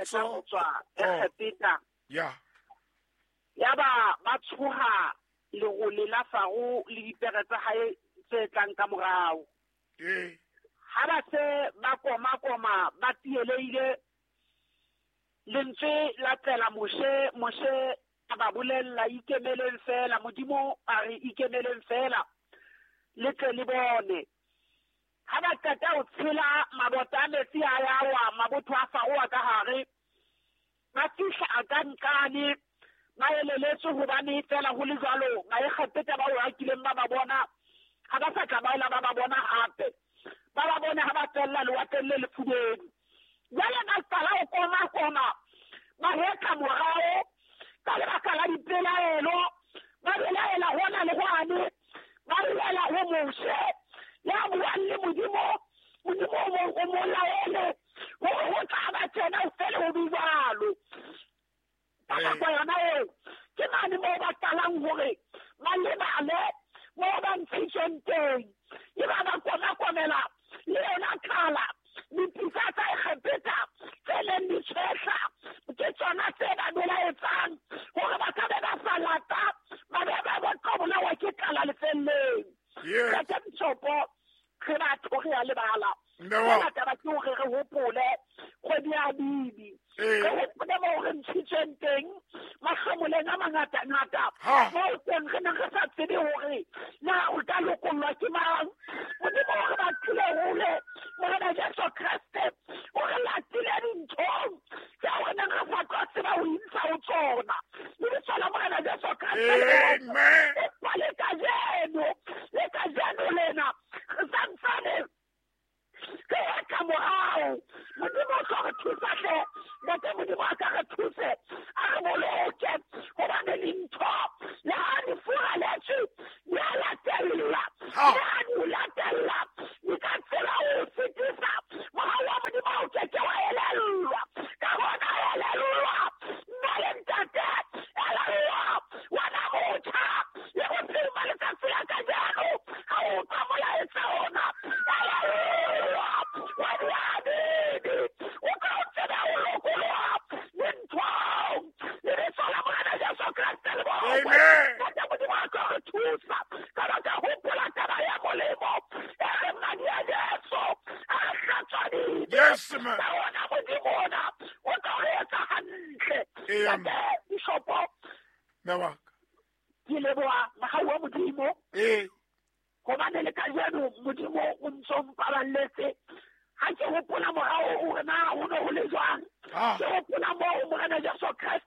Kgotso. Tswa Oh. Egepeta. Ya. Yaba ba tshoha lerole la Faro le dipere tsa hae tse tlang ka morao. Ee. Ha ba se ba koma-koma ba tielehile, lentswe la tlela Moshe, Moshe a ba bolella, ikemeleng fela, Modimo a re ikemeleng fela, le tle le bone. Ha ba qeta ho tshela mabota a metsi a ya wa, mabotho a Faro a ka hare, ba fihla a ka nqane, ba eleletswe hobane fela ho le jwalo, Baegepeta bao ba kileng ba ba bona, ha ba sa tla ba ela ba ba bona hape. Ba ba bone ha ba tswella lewatleng le lefubedu. Jwale ba qala ho koma-koma, ba hetla morao ka lebaka la dipelaelo, ba belaela hona le hwane, ba belaela ho Moshe ya buang le Modimo, Modimo o mo laele hore ho tla ba tjena, ho fele ho be jwalo. Ka nako yona eo, ke mane moo ba qalang hore ba lebale moo ba ntshitsweng teng. E ba ba koma-komela le yona tlala, dipitsa tsa Egepeta tse neng di tshwehla, ke tsona tse ba belaetsang hore ba ka be ba sa lata, ba be ba tlo bolawa ke tlala lefelleng. Yes. Ntate Bishopo, re batho re a lebala. Mme wa. Hona taba ke hore re hopole kgwedi ya Bibi. Ee. Re hopole moo re ntshitsweng teng, mahlomoleng a mangata-ngata. Ha. Moo teng re neng re sa tsebe hore na o ka lokollwa ke mang. Modimo o re batlile hole, Morena Jesu Kreste o re latile dinthong tseo re neng re sa tlo tseba ho intsha ho tsona. Lebitso la Morena Jesu Kreste le bokwe. Amen. Empa le kajeno, le kajeno lena, re santsane re etla morao. Modimo o tlo re thusa hle. Ntate Modimo a ka re thuse, a re boloke, hobane dintho le ha di furaletswe, di a latella. Ha. Le ha di o latella, di ka tseba ho o sitisa. Mohau wa Modimo ha o keke wa elellwa. Ka hona elellwa, nna le ntate, elellwa, wena motjha, le bophelo ba letsatsi la kajeno, ha o utlwa molaetsa ona, elellwa, wa diabedi, o tla o tsebe ho lokoloha dinthong. Lebitso la Morena Jesu Kreste le bokwe. Amen. Ntate Modimo a tlo re thusa. Ka baka hopola taba ya molemo, e re madi a Jesu a re hlatswa dibe. Yes, ma'am. Ka ona Modimo ona o tlo re etsa hantle. Ee, Ntate Bishopo, Mme wa ka. ke leboha mohau wa Modimo. Ee. Hobane le kajeno Modimo o ntso mpaballetse. Ha ke hopola morao hore na ho ne ho le jwang. Ah. Ke hopola moo Morena Jesu Kreste